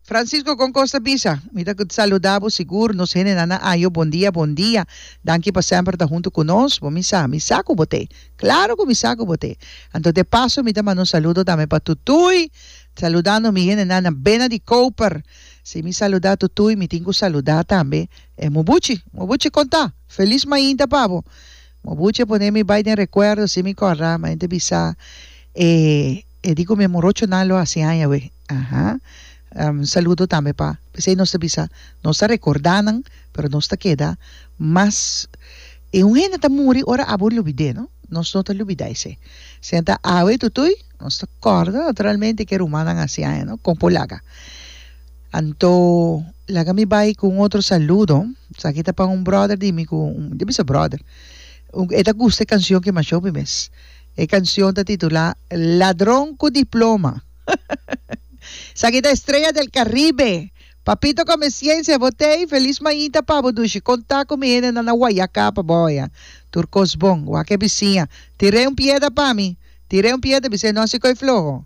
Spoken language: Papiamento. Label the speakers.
Speaker 1: Francisco con cos ta bisa? Mi ta saluda bo sigur nos hendenan na Ayo bon dia bon dia danki pa semper ta hunto cu nos bo mi sa mi sa cu bo te claro cu mi sa cu bo te anto de paso mi ta manda un saludo tambe pa Tutuy saludando mi hendenan na Bena di Koper si mi saluda Tutuy mi tin cu saluda tambe e Mobuchi Mobuchi con ta feliz mainta pa bo Mobuchi a pone mi bay den recuerdo si mi corda ma hende bisa e. E di ku mi morochonan lo hasi aña awe. Aha. Un saludo tambe pa. P'esei nos ta bisa, nos ta rekordá nan, pero nos ta keda mas. E un hende ta muri ora abo lubid'é, no? Nos no ta lubidá esei. Senta awe tutui, nos ta kòrda naturalmente ke rumannan hasi aña, no? Kon por laga. Anto, laga mi bai ku un otro saludo. Esaki ta pa un bròder di mi ku, di bisa bròder. E ta gusta e kanshon ke masha hopi mes. E cancion ta titula Ladron cu diploma. Esaki ta Estrella del Caribe. Papito come ciencia bo tey feliz mainta pa bo dushi conta cu mi hendenan na Guayaca pa bo oya tur cos bon wak e bisiña tir'e un piedra pa mi tir'e un piedra bis'e no haci coy floho.